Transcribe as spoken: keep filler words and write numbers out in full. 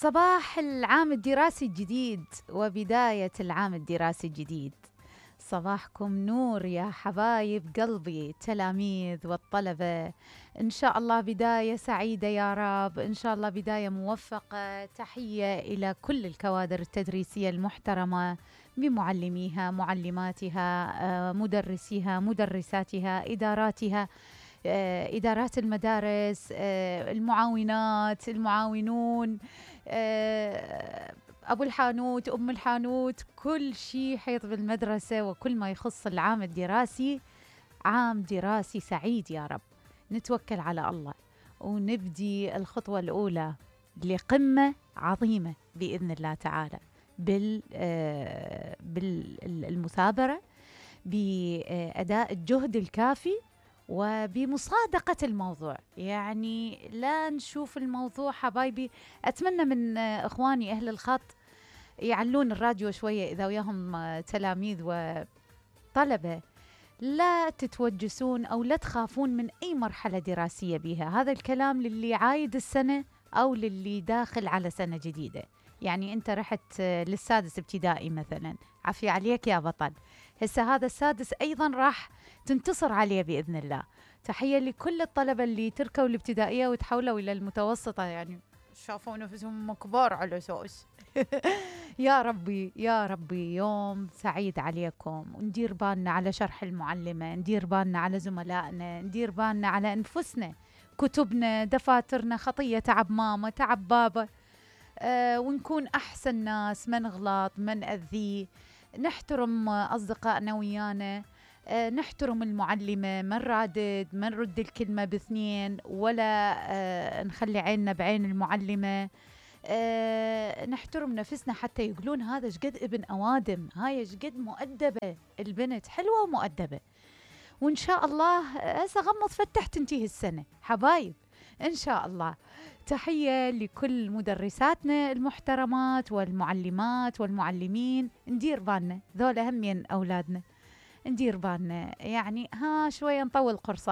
صباح العام الدراسي الجديد وبداية العام الدراسي الجديد. صباحكم نور يا حبايب قلبي، التلاميذ والطلبة. إن شاء الله بداية سعيدة يا رب، إن شاء الله بداية موفقة. تحية إلى كل الكوادر التدريسية المحترمة بمعلميها، معلماتها، مدرسيها، مدرساتها، إداراتها، إدارات المدارس، المعاونات، المعاونون، أبو الحانوت، أم الحانوت، كل شيء حيط بالمدرسة وكل ما يخص العام الدراسي. عام دراسي سعيد يا رب. نتوكل على الله ونبدي الخطوة الأولى لقمة عظيمة بإذن الله تعالى بال بالمثابرة، بأداء الجهد الكافي، وبمصادقة الموضوع. يعني لا نشوف الموضوع حبايبي. أتمنى من إخواني أهل الخط يعلون الراديو شوية إذا وياهم تلاميذ وطلبة. لا تتوجسون أو لا تخافون من أي مرحلة دراسية بها. هذا الكلام للي عايد السنة أو للي داخل على سنة جديدة. يعني أنت رحت للسادس ابتدائي مثلا، عافية عليك يا بطل. هسه هذا السادس أيضا راح تنتصر عليه بإذن الله. تحية لكل الطلبة اللي تركوا الابتدائية وتحولوا إلى المتوسطة، يعني شافوا نفسهم كبار على أساس. يا ربي يا ربي يوم سعيد عليكم، وندير بالنا على شرح المعلمة، ندير بالنا على زملائنا، ندير بالنا على أنفسنا، كتبنا، دفاترنا، خطية تعب ماما، تعب بابا. أه ونكون أحسن ناس، ما نغلط، ما نأذي، نحترم أصدقائنا ويانا، أه نحترم المعلمة، ما نرادد، ما نرد الكلمة باثنين، ولا أه نخلي عيننا بعين المعلمة. أه نحترم نفسنا حتى يقولون هذا شقد ابن أوادم، هاي شقد مؤدبة البنت، حلوة ومؤدبة. وإن شاء الله هسه غمض فتح تنتهي السنة حبايب إن شاء الله. تحية لكل مدرساتنا المحترمات والمعلمات والمعلمين. ندير بالنا، ذولا همين أولادنا، ندير بالنا. يعني ها شوية نطول قرصة